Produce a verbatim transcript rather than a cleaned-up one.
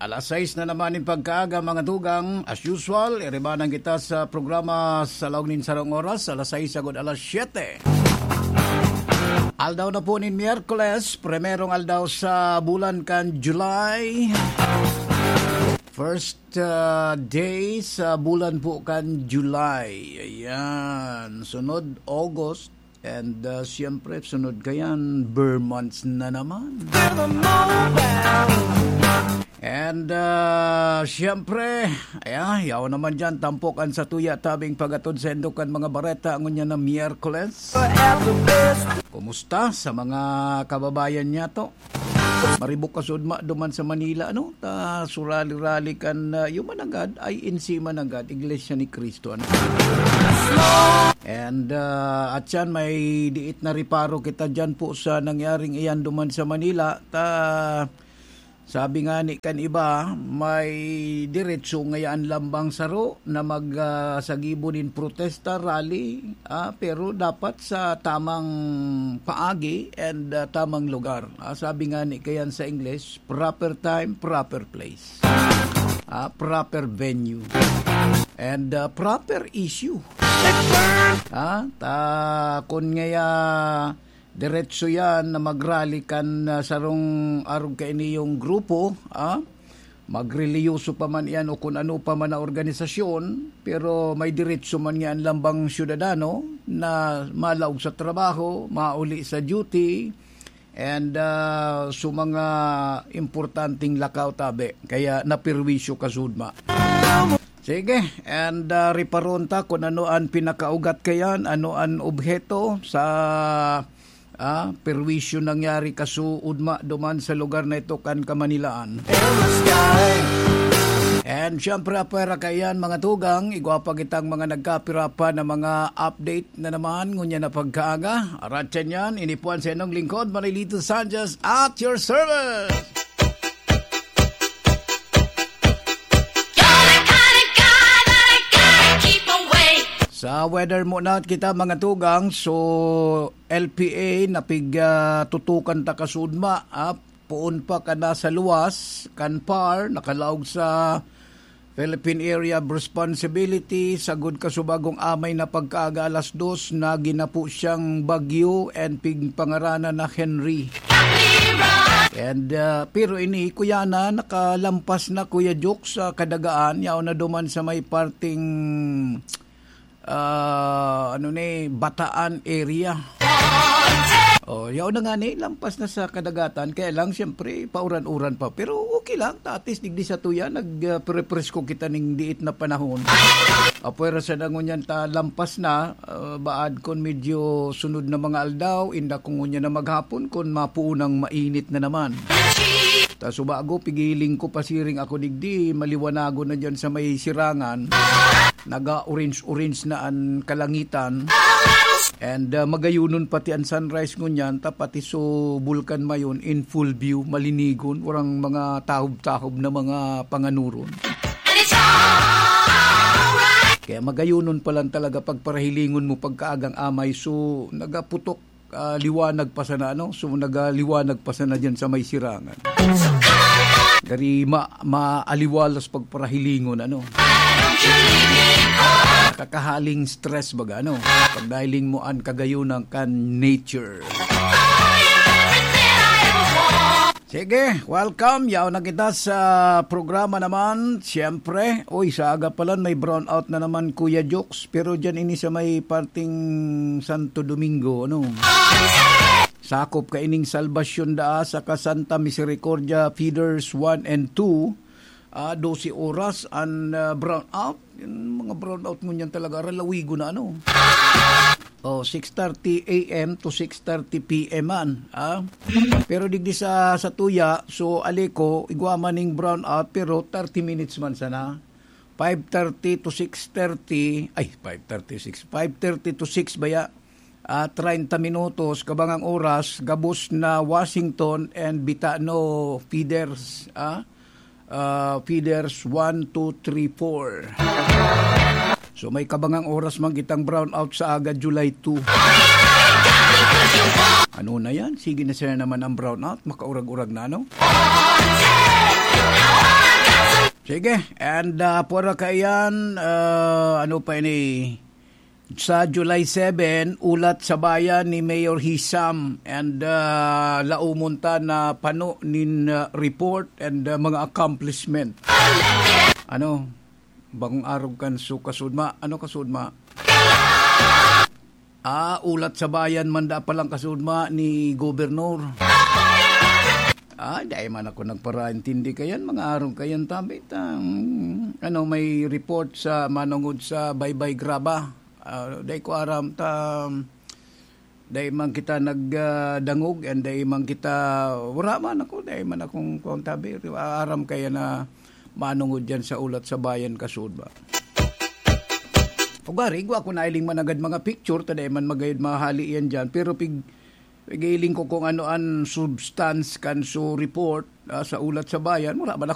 Alas sais na naman nin pagkaaga, mga tugang. As usual, iribanan kita sa programa sa laog nin sarong oras, alas sais agod alas siyete. Aldaw na po nin Miyerkules, primerong aldaw sa bulan kan July. First, ah, day sa bulan po kan July. Ayan. Sunod, August. And, ah, siyempre, sunod kayan, Ber months na naman. And, ah, siyempre, ayan, yaw naman dyan, tampok an satuya tabing pag-atod sa indokan mga bareta, ngunyan na Miyerkules. Kumusta sa mga kababayan niya to? Maribok ka sudma duman sa Manila, ano? Ta, surali-rali kan, ah, yung managad, I N C managad, Iglesia ni Cristo, ano? And, ah, at yan, may diit na reparo kita dyan po sa nangyaring iyan duman sa Manila. Ta, sabi nga ni kan iba, may diretso ngayaan lambang saro na mag, ah, sagibo nin protesta, rally, ah, pero dapat sa tamang paagi and, ah, tamang lugar. Ah, sabi nga ni kayan sa English, proper time, proper place. Ah, proper venue. And, ah, proper issue. Ah, ta, kun ngaya diretso yan na magrally kan, ah, sarong arog kainiyong grupo, ah, magrelihiyoso pa man iyan o kun ano pa man na organisasyon, pero may diretso man niya an lambang syudadano na malaog sa trabaho, mauli sa duty, and, ah, sa mga importanteng lakaw tabi. Kaya napirwisyo ka sudma. Sige, and, ah, riparon ta kun ano an pinakaugat kayan, ano an obheto sa, ah, perwisyo nangyari kasuudma duman sa lugar na ito kan Kamanilaan. And syempre, apwera kaiyan, mga tugang, igwa pa kitang mga nagkapira pa na mga update na naman, ngunyan na pagkaaga. Aratyan yan, inipuan sa inong lingkod, Manilito Sanchez, at your service. Sa weather muna kita, mga tugang. So, L P A, napig, ah, tutukan ta kasudma, ah, poon pa ka nasa luwas kan par, nakalaog sa Philippine Area of Responsibility, sagod kasubagong amay na pagkaaga alas dos, na ginapo siyang bagyo and pigpangaranan na Henry. And, ah, pero ini, kuya na, nakalampas na, Kuya Jok, sa Kadagaan, yaon na duman sa may parting, ah, ano ni, Bataan area. Oh, yaon na nga ni, lampas na sa kadagatan. Kaya lang, siyempre, pauran-uran pa. Pero okay lang, ta at least digdi sa tuya, nag, ah, prepresko kita ning diit na panahon. Apwera sa dangon yan, ta lampas na, ah, baad kun medyo sunod na mga aldaw, inda kung ngunyan na maghapon, kun mapuunang mainit na naman. Ta subago, pigiling ko, pasiring ako digdi, maliwanagon na dyan sa may sirangan. Naga-orange-orange na an kalangitan. And, ah, magayunon pati an sunrise ngunyan, ta pati so Bulkan Mayon in full view, malinigon, warang mga tahob-tahob na mga panganuron. Kaya magayunon pa lang talaga pagparahilingon mo pagkaagang amay, so nagaputok, ah, liwanag pa sana, ano? So nagaliwanag pa sana dyan sa may sirangan. Gari ma-, maaliwalas pagparahilingon, ano? Nakakahaling stress baga, ano? Pagdahiling mo an kagayunan kan nature. Sige, welcome. Yaon na kita sa programa naman. Siyempre, uy, sa aga pa lang may brownout na naman, Kuya Jokes. Pero dyan ini sa may parting Santo Domingo, ano? Sakop kaining Salvacion Daa saka Santa Misericordia feeders one and two. Ah, dose oras an, ah, brownout. Yung mga brownout ngunyan talaga, ralawigo na, ano. Oh, six thirty A M to six thirty P M man, ah. Pero digdi sa, sa tuya, so, Aleco, igwa man ning brownout, pero thirty minutes man sana. Five thirty to six thirty, ay, five thirty, six, five thirty to six baya. Ah, treinta minutos, kabangang oras, gabos na Washington and Bitano feeders, ah. Ah, feeders one, two, three, four. So, may kabangang oras man kitang brownout sa aga, July two. Ano na yan? Sige na siya naman ang brownout. Makaurag-urag na, no? Sige, and uh, para kaiyan, uh, ano pa ini? Sa July seven, ulat sa bayan ni Mayor Hisam and uh, laumon ta na pano nin uh, report and uh, mga accomplishment. Ano? Bagong arog kan su kasudma. Ano kasudma? Ah, ulat sa bayan man da palang kasudma ni Gobernador. Ah, dai man ako nagparaintindi kayan, mga arog kayan tambit. Ah, mm, ano, may report sa manungod sa Baybay Graba. Ah, dai ko aram ta, dai man kita nagdangog and dai man kita, wala man ako, dai man akong kontabi. Aram kaya na manungod yan sa ulat sa bayan kasudma. Ugari, igwa ko na iling managad mga picture, ta dai man magayod mahali yan dyan. Pero pig, pigiling ko kung ano an substance kan su report ah, sa ulat sa bayan. Mura ba